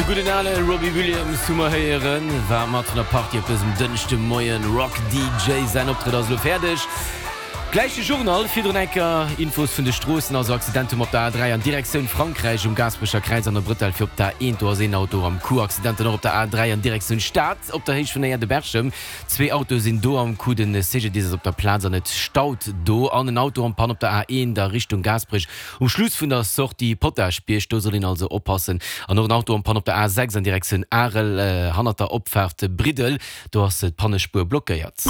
De gudden ale Robbie Williams hu mer héieren, war mat vun der Partie op dësem Dënschde Moien. Rock DJ, säin Optrëtt ass elo fäerdeg. Gläich de Journal, virdrun enker Infos vun de Stroossen. Also Accident hu mer op der A3 an Direktioun Frankräich um Gaasperecher Kräiz an der Brëtell fir op d'A1. Do ass een Auto am Coup. Accident dann och op der A3 an Direktioun Stad op der Héicht vun der Aire de Berchem. Zwee Autoe sinn do am Coup. Den CGDIS ass op der Plaz an et staut do. An en Auto en Panne op der A1 a Richtung Gaasperech um Schluss vun der Sortie Potaschbierg. Do soll een also oppassen. An och en Auto en Panne op der A6 an Direktioun Arel hannert der Opfaart Briddel. Do ass d'Pannespuer blockéiert.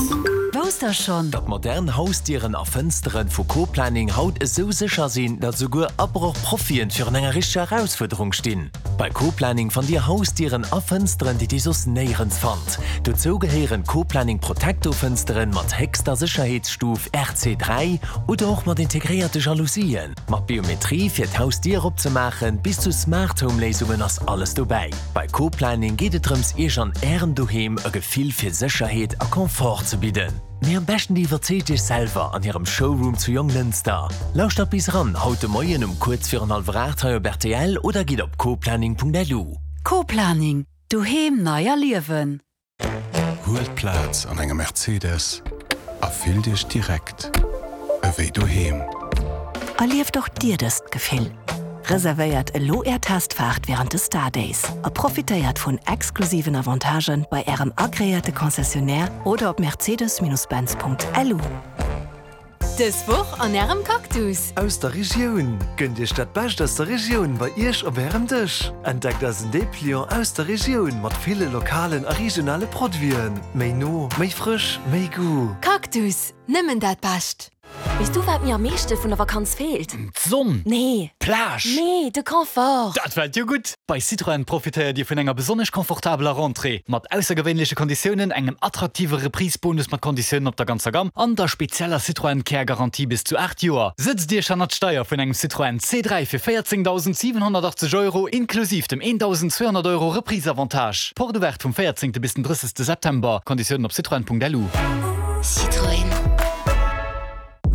Wousst der schonn? Datt modern Hausdieren a Fënsteren vu Co-Planning haut esou sécher sinn, datt esouguer Abrochprofien virun enger richteger Erausfuerderung stinn? Bei Co-Planning fannt Dir Hausdieren a Fënsteren, déi Dir soss néierens fannt. Dozou gehéieren Co-Planning Protecto Fënsteren mat héchster Sécherheetsstuf RC3 oder och mat integréierte Jalousien, mat Biometrie fir d'Hausdier opzemaachen, bis zu Smart Home Léisungen ass alles dobäi. Bei Co-Planning geet et drëms Iech an Ärem Doheem e Gefill fir Sécherheet a Confort ze bidden. Mee am beschten Dir iwwerzeegt Iech selwer an hirem Showroom zu Jonglënster. Lauschtert bis eran haut de Moien um kuerz virun hallwer 8 hei op rtl oder gitt op coplanning.lu. Co-Planning, Doheem nei erliewen. Huelt Plaz an engem Mercedes a fillt Iech direkt ewéi doheem. Erlieft och Dir dëst Gefill! Reservéiert elo Är Testfaart wärend de Star Days a profitéiert vun exklusiven Avantagen bei Ärem agreéierte Concessionnaire oder op mercedes-benz.lu. Dës Woch an Ärem Cactus! Aus der Regioun! Gënnt Iech dat Bescht aus der Regioun bei Iech op Ärem Dësch! Entdeckt eisen Depliant aus der Regioun mat ville lokalen a regionale Produiten. Méi no, méi frësch, méi Goût! Cactus, nëmmen dat Bescht! Weess du wat mir am meeschte vun der Vakanz feelt? D'Sonn! Nee. D'Plage! Nee, de Confort! Dat fält jo gutt! Bei Citroën profitéiert Dir vun enger besonnesch confortabeler Rentrée, mat aussergewéinleche Konditiounen, engem attraktive Reprise-Bonus mat Konditiounen op der ganzer Gamm an der spezieller Citroën Care Garantie bis zu 8 Joer. Sëtzt Iech hannert d'Steier vun engem Citroën C3 fir 14.780 Euro inklusiv dem 1.200 Euro Reprise-Avantage. Porte ouverte vum 14. bis den 30. September. Konditiounen op citroën.lu. Citroën.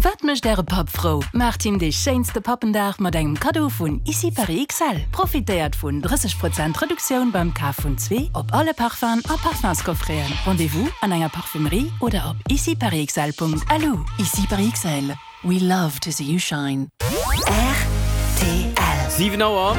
Wat mécht Äre Papp frou? Maacht him dee schéinste Pappendag mat engem Kaddo vun Ici Paris XL. Profitéiert vun 30 Prozent Reduktioun beim Kaf vun zwee op alle Parfum'en a Parfumscoffreten. Rendez-vous an enger Parfumerie oder op iciparisxl.lu. Ici Paris XL, we love to see you shine. Rtl. 7 Auer,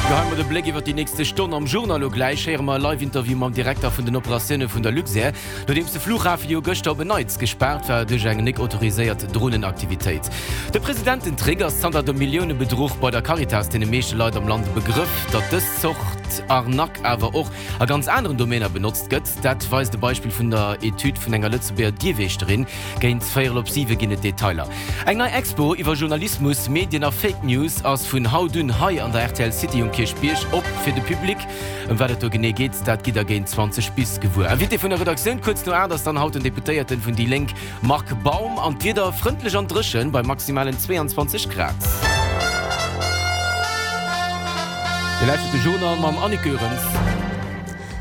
Geheie mer de Bléck iwwer déi nächste Stonn am Journal. Elo gläich héiere mer e Live-Interview mam Direkter vun den Operatioune vun der Luxair, nodeems de Flughafe jo gëschter op en Neits gespaart war duerch eng nek autoriséiert Dronenaktivitéit. De Presidententrick ass zanter dem Milliounebedruch bei der Caritas deene meeschte Leit am Land e Begrëff. Datt dës Zort Arnaque awer och a ganz aneren Domäner benotzt gëtt, dat weist e Beispill vun der Etüd vun enger Lëtzebuerger Dierwächterin. Géint véierel op siwe ginn et Detailer. Eng nei Expo iwwer Journalismus, Medien a Fake News ass vun haut un hei an der rtl City um Kierchbierg op fir de Public. Ëm wat et do genee geet, dat gitt der géint 20 bis gewuer. Invité vun der Redaktioun kuerz no 8 ass dann haut den Deputéierten vun déi Lénk Marc Baum. An d'Wieder, frëndlech an dréchen bei maximalen 22 Grad. Dir lauschtert de Journal mam Annick Goerens.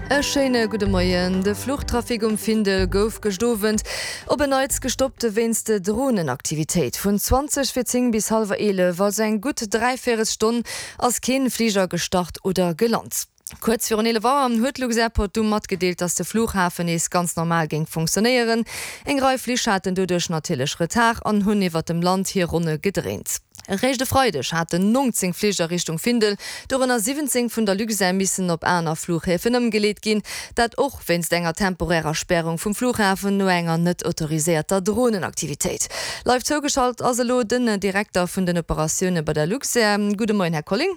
E schéine gudde Moien. De Fluchtrafic um Findel gouf gëscht Owend op en Neits gestoppt wéinst Dronenaktivitéit. Vun 20 fir 10 bis hallwer 11, also eng gutt Dräivéierelstonn, ass keen Fliger gestart oder gelant. Kuerz virun 11 Auer huet Luxairport du matgedeelt, dass de Flughafen nees ganz normal géing funktionéieren. Eng Rei Flich haten doduerch natierlech Retard an hunn iwwert dem Land hir Ronne gedréint. Eréischt e Freideg haten 19 Fliger Richtung Findel, dorënner 17 vun der Luxair, missen op aner Flughäfen ëmgeleet ginn. Dat och wéinst enger temporärer Spärung vum Flughafen no enger net autoriséierter Dronenaktivitéit. Live zougeschalt ass elo den Direkter vun den Operatioune bei der Luxair. Gudde Moien, Här Colling.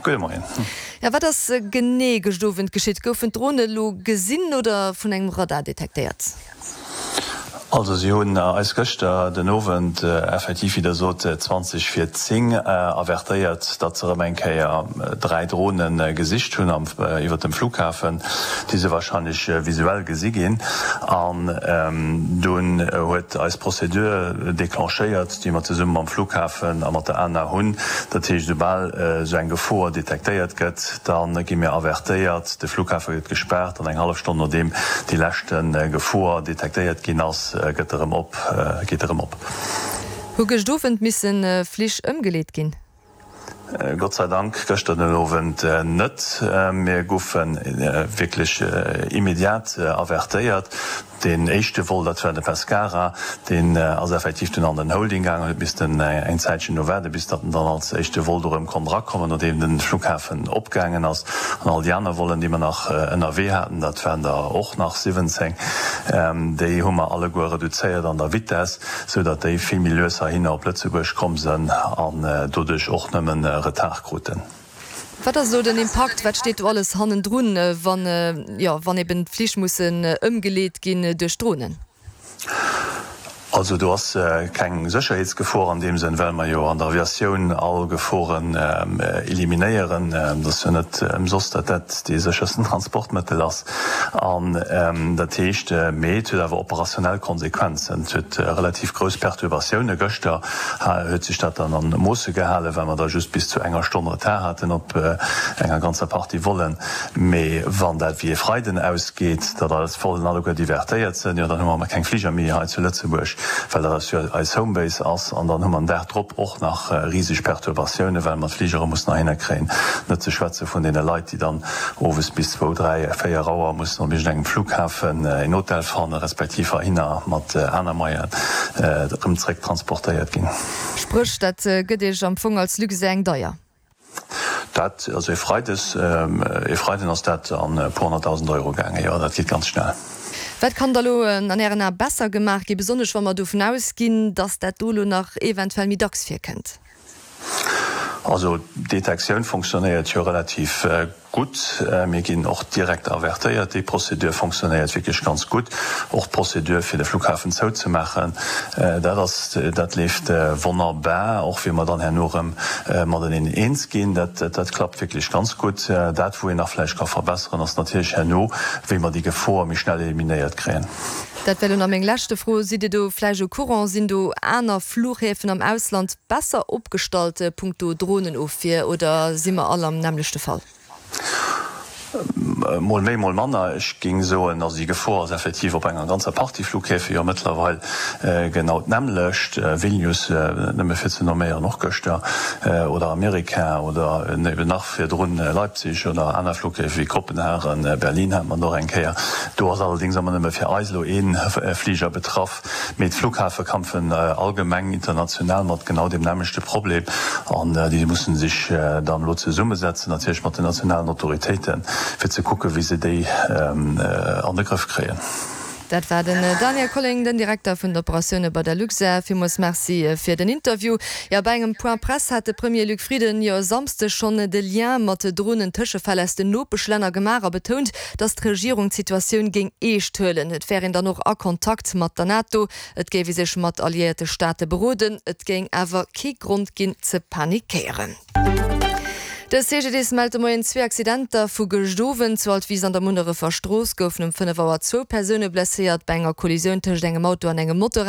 Gudde Moien. Jo, wat ass genee gëscht Owend geschitt? Goufen d'Drone elo gesinn oder vun engem Radar detektéiert? Also si hunn eis gëschter den Owend effektiv, wéi Der sot, 20 vir 10 avertéiert, datt se erëm eng Kéier 3 Drone gesicht hunn iwwert dem Flughafen, déi se wahrscheinlech visuell gesi ginn. An dunn huet eis Procédure declenchéiert, déi mer zesumme mam Flughafen a mat der ANA hunn. Dat heescht, esoubal esou eng Gefor detektéiert gëtt, da gi mir avertéiert, de Flughafe gëtt gespaart an eng hallef Stonn nodeem déi leschte Gefor detektéiert ginn ass, gëtt erëm op, geet erëm op. Hu gëscht Owend misse Flich ëmgeleet ginn? Gott sei Dank gëschter den Owend net. Mir goufe wierklech immediat avertéiert. Deen éischte Vol, dat war de Pescara, deen ass effektiv dunn an den Holding gaangen, huet missten eng Zäitchen do waarden, bis datt en dann als éischte Vol do erëm konnt erakommen, nodeem de Flughafen opgaangen ass. An all déi aner Vollen, déi mer nach ënnerwee haten, dat waren der och nach 17, déi hu mer alleguer reduzéiert an der Vitess, sou datt déi vill méi lues heihinner op Lëtzebuerg komm sënn an doduerch och nëmmen Retard kruten. Wat ass elo den Impakt, wat steet do alles hannendrun, wann, jo, wann eben d'Flich mussen ëmgeleet ginn duerch Dronen? Also do ass keng Sécherheetsgefor an deem Sënn, well mer jo an der Aviatioun all Geforen eliminéieren. Et ass jo net ëmsoss, datt dat dee séchersten Transportmëttel ass. An dat heescht, mee et huet awer operationell Konsequenzen. Et huet relativ grouss Perturbatioune. Gëschter huet sech dat dann an Moosse gehalen, well mer da just bis zu enger Stonn Retard haten op enger ganzer Partie Vollen. Mee wann dat wéi e Freiden ausgeet, datt eis Vollen alleguer divertéiert sënn, jo dann hu mer keng Fliger méi hei zu Lëtzebuerg, well dat eis jo eis Homebase ass. An dann hu mer den Dag drop och nach riseg Perturbatiounen, well mer d'Fligere mussen heihinner kréien. Net ze schwätze vun deene Leit, déi dann owes bis zwou, dräi, véier Auer mussen op iergendengem Flughafen een Hotel fannen, respektiv heihinner mat aner Moyenen erëm zréck transportéiert ginn. Spréch, dat gëtt Iech am Fong als Luxair eng deier. Dat, also e Freides, e Freiden ass dat an e puer 100.000 Euro gaangen, jo, dat geet ganz schnell. Wat kann da lo an Ären Ae besser gemaach ginn, besonnesch wa mer dovun ausginn, datt dat do lo nach eventuell méi dacks virkënnt? Also d'Detektioun fonctionnéiert jo relativ gutt. Mir ginn och direkt avertéiert. Déi Procédure fonctionnéiert wierklech ganz gutt. Och d'Procédure fir de Flughafen zouzemaachen, dat ass, dat leeft wonnerbar. Och wéi mer dann herno erëm mateneen eens ginn, dat, dat klappt wierklech ganz gutt. Dat wou een nach vläicht ka verbesseren, ass natierlech herno, wéi mer déi Gefor méi schnell eliminéiert kréien. Dat wär elo nach meng leschte Fro. Sidd Dir do vläicht au courant? Sinn do aner Flughäfen am Ausland besser opgestallt punkto Dronenofwier oder si mer all am nämmlechte Fall? Mol méi, mol manner. Ech géing soen, also déi Gefor ass effektiv op enger ganzer Partie Flughäfe jo mëttlerweil genau d'nämmlecht. Vilnius, nëmme fir ze nomméieren, och gëschter, oder Amerika oder eben nach virdrun Leipzig oder aner Flughäfe wéi Kopenhagen, Berlin hat mer och eng Kéier. Do ass allerdéngs ëmmer nëmme fir eis elo ee Fliger betraff. Mee d'Flughäfe kämpfen allgemeng international mat genau deem nämmlechte Problem an déi musse sech dann elo zesummesetzen, natierlech mat den nationalen Autoritéiten, fir ze kucken, wéi se déi an de Grëff kréien. Dat war den Daniel Colling, den Direkter vun den Operatioune bei der Luxair. Villmools Merci fir den Interview. Jo, bei engem Point Presse hat de Premier Luc Frieden jo e Samsdeg schonn de Lien mat Dronen-Tëschefäll aus den Nopeschlänner gemaach a betount, datt d'Regierung d'Situatioun géing eescht huelen. Et wär een dann och a Kontakt mat der NATO, et géif ee sech mat alliéierte Staate beroden, et géing awer kee Grond ginn ze panikéieren. De CGDIS mellt de Moien zwee Accidenter vu gëscht Owend. Zu Altwis an der Munnerefer Strooss goufen um 5 Auer zwou Persoune blesséiert bei enger Kollisioun tëscht engem Auto an engem Motorrad.